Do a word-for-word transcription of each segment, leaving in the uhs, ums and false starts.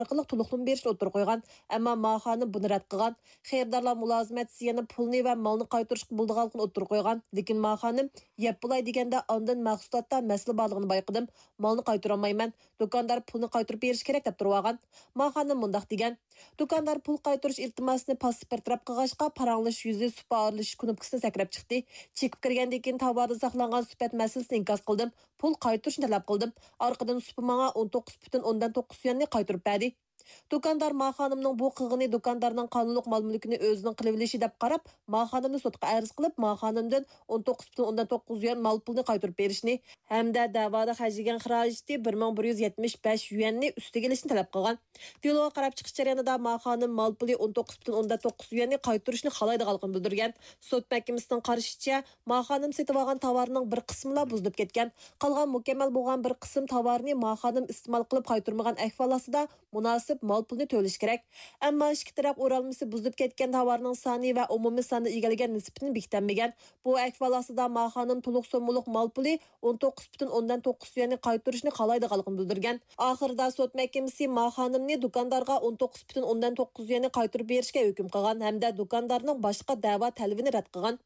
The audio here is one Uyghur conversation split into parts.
ئارقىلىق تولۇقلىما بېرىشنى ئوتتۇرىغا قويغان، ئەمما ما خانىم بۇنى رەت قىلغان. خېرىدارلار مۇلازىمەتچىسى يەنە پۇلنى ۋە مالنى قايتۇرۇشقا بولىدىغانلىقىنى ئوتتۇرىغا قويغان، لېكىن ما خانىم يەپ بولاي دېگەندە ئاندىن مەھسۇلاتتا مەسىلە بارلىقىنى بايقىدىم، مالنى قايتۇرالمايمەن، دۇكاندار پۇلنى قايتۇرۇپ بېرىشى كېرەك دەپ تۇرۇۋالغان. ما خانىم مۇنداق دېگەن، دۇكاندار پۇل قايتۇرۇش ئىلتىماسىنى پاسسىپ بىر تەرەپ قىلغاچقا، پاراڭلىشىش يۈزى سۇپا ئارىلىشىش كۇنۇپكىسىنى سەكرەپ چىقتى. چېكىپ كىرگەندىن كېيىن تاۋاردا ساقلانغان سۈپەت مەسىلىسىنى ئىنكاس قىلدىم. پۇل قايتۇرۇشنى تەلەپ قىلدىم. ئارقىدىن سۇپا ماڭا ئون توققۇز پۈتۈن ئوندىن توققۇز يۈەننى قايتۇرۇپ بەردى. دۇكاندار ما خانىمنىڭ بۇ قىلغىنى دۇكاندارنىڭ قانۇنلۇق مال-مۈلكىنى ئۆزىنىڭ قىلىۋېلىشى دەپ قاراپ، ما خانىمنى سوتقا ئەرز قىلىپ، ما خانىمدىن ئون توققۇز پۈتۈن ئوندىن توققۇز يۈەن مال پۇلنى قايتۇرۇپ بېرىشنى ھەمدە دەۋادا خەجلىگەن خىراجىتى بىر مىڭ بىر يۈز يەتمىش بەش يۈەننى ئۈستىگە ئېلىشنى تەلەپ قىلغان. دېلوغا قاراپ چىقىش جەريانىدا ما خانىم مال پۇلى ئون توققۇز پۈتۈن ئوندىن توققۇز يۈەننى قايتۇرۇشنى خالايدىغانلىقىنى بىلدۈرگەن. سوت مەھكىمىسىنىڭ قارىشىچە، ما خانىم سېتىۋالغان تاۋارنىڭ بىر قىسمىلا بۇزۇلۇپ كەتكەن. قالغان مۇكەممەل بولغان بىر قىسىم تاۋارنى ما خانىم ئىستېمال قىلىپ قايتۇرمىغان ئەھۋال ئاستىدا، مۇناسىپ مال پۇلنى تۆلىشى كېرەك. ئەمما ئىككى تەرەپ ئورالمىسى بۇزۇلۇپ كەتكەن تاۋارنىڭ سانى ۋە ئومۇمىي ساندا ئىگىلىگەن نىسبىتىنى بېكىتەلمىگەن. بۇ ئەھۋال ئاستىدا ما خانىم تولۇق سوممىلىق مال پۇلى ئون توققۇز پۈتۈن ئوندىن توققۇز يۈەننى قايتۇرۇشنى خالايدىغانلىقىنى بىلدۈرگەن. ئاخىرىدا سوت مەھكىمىسى ما خانىمنى دۇكاندارغا ئون توققۇز پۈتۈن ئوندىن توققۇز يۈەننى قايتۇرۇپ بېرىشكە ھۆكۈم قىلغان ھەمدە دۇكاندارنىڭ باشقا دەۋا تەلىپىنى رەت قىلغان.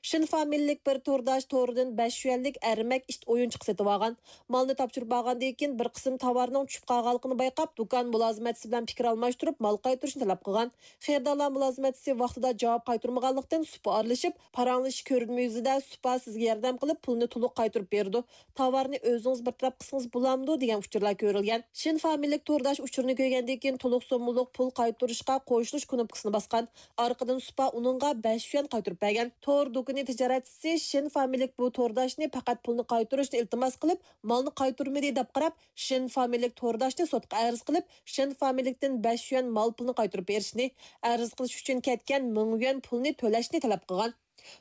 شىن فامىلىلىك بىر تورداش تورىدىن بەش يۈەنلىك ئەرمەك ئىت ئويۇنچۇقى سېتىۋالغان. مالنى تاپشۇرۇپ بارغاندىن كېيىن، بىر قىسىم تاۋارنىڭ چۈشۈپ قالغانلىقىنى بايقاپ، دۇكان مۇلازىمەتچىسى بىلەن پىكىر ئالماشتۇرۇپ، مال قايتۇرۇشنى تەلەپ قىلغان. خېرىدارلار مۇلازىمەتچىسى ۋاقتىدا جاۋاب قايتۇرمىغانلىقتىن، سۇپا ئارىلىشىپ، پاراڭلىشىش كۆرۈنمە يۈزىدە سۇپا سىزگە ياردەم قىلىپ، پۇلنى تولۇق قايتۇرۇپ بېرىدۇ، تاۋارنى ئۆزىڭىز بىر تەرەپ قىلسىڭىز بولامدۇ؟ دېگەن ئۇچۇرلار كۆرۈلگەن. شىن فامىلىلىك تورداش ئۇچۇرنى كۆرگەندىن كېيىن، تولۇق سوممىلىق پۇل قايتۇرۇشقا قوشۇلۇش كۇنۇپكىسىنى باسقان. ئارقىدىن سۇپا ئۇنىڭغا بەش يۈەن قايتۇرۇپ بەرگەن. تور دۇكىنى تىجارەتچىسى شىن فامىلىلىك بۇ تورداشنى پەقەت پۇلنى قايتۇرۇشنى ئىلتىماس قىلىپ، مالنى قايتۇرمىدى دەپ قاراپ، شىن فامىلىلىك تورداشنى سوتقا ئەرز قىلىپ، شىن فامىلىلىكتىن بەش يۈەن مال پۇلنى قايتۇرۇپ بېرىشنى، ئەرز قىلىش ئۈچۈن كەتكەن مىڭ يۈەن پۇلنى تۆلەشنى تەلەپ قىلغان.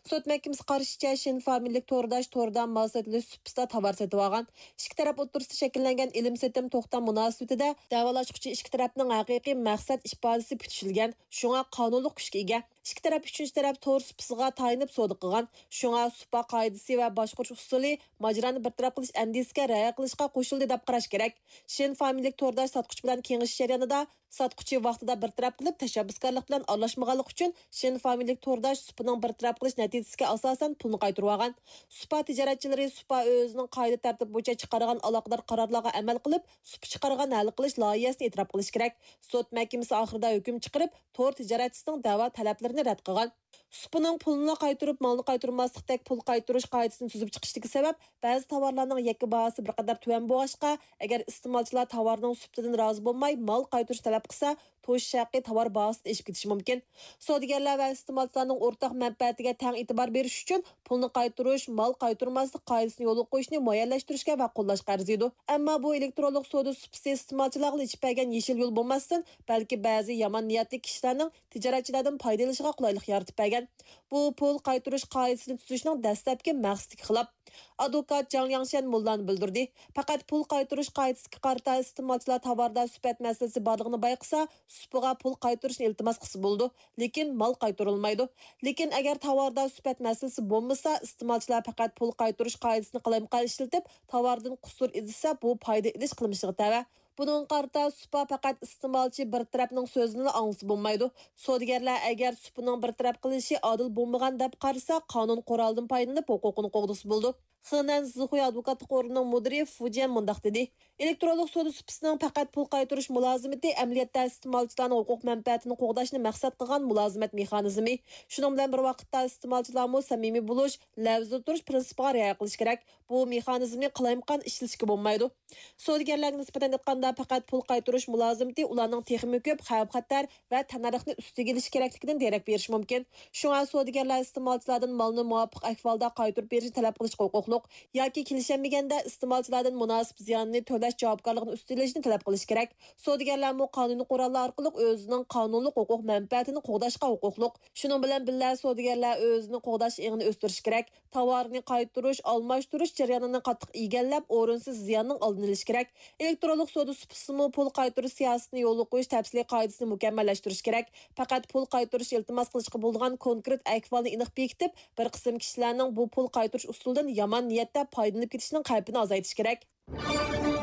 سوت مەھكىمىسى قارىشىچە، شىن فامىلىلىك تورداش توردا مال سېتىلىش سۇپىسىدا تاۋار سېتىۋالغان. ئىككى تەرەپ ئوتتۇرىسىدا شەكىللەنگەن ئېلىم-سېتىم توختام مۇناسىۋىتىدە دەۋالاشقۇچى ئىككى تەرەپنىڭ ھەقىقىي مەقسەت ئىپادىسى پۈتۈشۈلگەن، شۇڭا قانۇنلۇق كۈچكە ئىگە. ئىككى تەرەپ ئۈچىنچى تەرەپ تور سۇپىسىغا تايىنىپ سودا قىلغان، شۇڭا سۇپا قائىدىسى ۋە باشقۇرۇش ئۇسۇلى ماجىرانى بىر تەرەپ قىلىش ئەندىزىسىگە رىئايە قىلىشقا قوشۇلدى دەپ قاراش كېرەك. شىن فامىلىلىك تورداش ساتقۇچى بىلەن كېڭىشىش جەريانىدا، ساتقۇچى ۋاقتىدا بىر تەرەپ قىلىپ، تەشەببۇسكارلىق بىلەن ئارىلاشمىغانلىقى ئۈچۈن، شىن فامىلىلىك تورداش سۇپىنىڭ بىر تەرەپ قىلىش نەتىجىسىگە ئاساسەن پۇلنى قايتۇرۇۋالغان. سۇپا تىجارەتچىلىرى سۇپا ئۆزىنىڭ قائىدە تەرتىپ بويىچە چىقارغان ئالاقىدار قارارلارغا ئەمەل قىلىپ، سۇپا چىقارغان ھەل قىلىش لايىھەسىنى ئېتىراپ قىلىشى كېرەك. سوت مەھكىمىسى ئاخىرىدا ھۆكۈم چىقىرىپ، تور تىجارەتچىسىنىڭ دەۋا تەلەپلىرىنى رەت قىلغان. سۇپىنىڭ پۇلنىلا قايتۇرۇپ، مالنى قايتۇرماسلىقتەك پۇل قايتۇرۇش قائىدىسىنى تۈزۈپ چىقىشتىكى سەۋەب، بەزى تاۋارلارنىڭ يەككە باھاسى بىر قەدەر تۆۋەن بولغاچقا، ئەگەر ئىستېمالچىلار تاۋارنىڭ سۈپىتىدىن رازى بولماي، مال قايتۇرۇش تەلەپ قىلسا، توشۇش ھەققى تاۋار باھاسىدىن ئېشىپ كېتىشى مۇمكىن. سودىگەرلەر ۋە ئىستېمالچىلارنىڭ ئورتاق مەنپەئەتىگە تەڭ ئېتىبار بېرىش ئۈچۈن، پۇلنى قايتۇرۇش، مال قايتۇرماسلىق قائىدىسىنى يولغا قويۇشنى مۇئەييەنلەشتۈرۈشكە ۋە قوللاشقا ئەرزىيدۇ. ئەمما بۇ ئېلېكترونلۇق سودا سۇپىسى ئىستېمالچىلارغىلا ئېچىپ بەرگەن يېشىل يول بولماستىن، بەلكى بەزى يامان نىيەتلىك كىشىلەرنىڭ تىجارەتچىلەردىن پايدىلىنىشىغا قولايلىق يارىتىپ بەرگەن. بۇ پۇل قايتۇرۇش قائىدىسىنى تۈزۈشنىڭ دەسلەپكى مەقسىتىگە خىلاپ. ئادۋوكات جاڭ لياڭشەن موللانى بىلدۈردى. پەقەت پۇل قايتۇرۇش قائىدىسىگە قارىتا ئىستېمالچىلار تاۋاردا سۈپەت مەسىلىسى بارلىقىنى بايقىسا، سۇپىغا پۇل قايتۇرۇشنى ئىلتىماس قىلسا بولىدۇ، لېكىن مال قايتۇرۇلمايدۇ. لېكىن ئەگەر تاۋاردا سۈپەت مەسىلىسى بولمىسا، ئىستېمالچىلار پەقەت پۇل قايتۇرۇش قائىدىسىنى قالايمىقان ئىشلىتىپ، تاۋاردىن قۇسۇر ئىزدىسە، بۇ پايدا ئېلىش قىلمىشىغا تەۋە. بۇنىڭغا قارىتا سۇپا پەقەت ئىستېمالچى بىر تەرەپنىڭ سۆزىنىلا ئاڭلىسا بولمايدۇ. سودىگەرلەر ئەگەر سۇپىنىڭ بىر تەرەپ قىلىشى ئادىل بولمىغان دەپ قارىسا، قانۇن قورالىدىن پايدىلىنىپ ھوقۇقىنى قوغدىسا بولىدۇ. خېنەن زىخۇي ئادۋوكاتلىق ئورنىنىڭ مۇدىرى فۇ جيەن مۇنداق دېدى، ئېلېكترونلۇق سودا سۇپىسىنىڭ پەقەت پۇل قايتۇرۇش مۇلازىمىتى ئەمەلىيەتتە ئىستېمالچىلارنىڭ ھوقۇق مەنپەئەتىنى قوغداشنى مەقسەت قىلغان مۇلازىمەت مېخانىزمى. شۇنىڭ بىلەن بىر ۋاقىتتا، ئىستېمالچىلارمۇ سەمىمىي بولۇش، لەۋزىدە تۇرۇش پىرىنسىپىغا رىئايە قىلىشى كېرەك. بۇ مېخانىزمنى قالايمىقان ئىشلىتىشكە بولمايدۇ. سودىگەرلەرگە نىسبەتەن ئېيتقاندا، پەقەت پۇل قايتۇرۇش مۇلازىمىتى ئۇلارنىڭ تېخىمۇ كۆپ خەۋپ-خەتەر ۋە تەننەرخنى ئۈستىگە ئېلىشى كېرەكلىكىدىن دېرەك بېرىشى مۇمكىن. شۇڭا سودىگەرلەر ئىستېمالچىلاردىن مالنى مۇۋاپىق ئەھۋالدا قايتۇرۇپ بېرىشنى تەلەپ قىلىشقا ھوقۇقلۇق ياكى كېلىشەلمىگەندە ئىستېمالچىلاردىن مۇناسىپ زىياننى تۆلەش جاۋابكارلىقىنى ئۈستىلىشىنى تەلەپ قىلىشى كېرەك. سودىگەرلەرمۇ قانۇنىي قوراللار ئارقىلىق ئۆزىنىڭ قانۇنلۇق ھوقۇق مەنپەئەتىنى قوغداشقا ھوقۇقلۇق. شۇنىڭ بىلەن بىللە، سودىگەرلەر ئۆزىنى قوغداش ئېڭىنى ئۆستۈرۈشى كېرەك. تاۋارنى قايتۇرۇش، ئالماشتۇرۇش جەريانىنى قاتتىق ئىگىلەپ، ئورۇنسىز زىياننىڭ ئالدىنى ئېلىش كېرەك. ئېلېكترونلۇق سودا سۇپىسىمۇ پۇل قايتۇرۇش سىياسىتىنى يولغا قويۇش تەپسىلىي قائىدىسىنى مۇكەممەللەشتۈرۈش كېرەك. پەقەت پۇل قايتۇرۇش ئىلتىماس قىلىشقا بولىدىغان كونكرېت ئەھۋالنى ئېنىق بېكىتىپ، بىر قىسىم كىشىلەرنىڭ بۇ پۇل قايتۇرۇش ئۇسۇلىدىن يامان نىيەتتە پايدىلىنىپ كېتىشىنىڭ خەۋپىنى ئازايتىش كېرەك.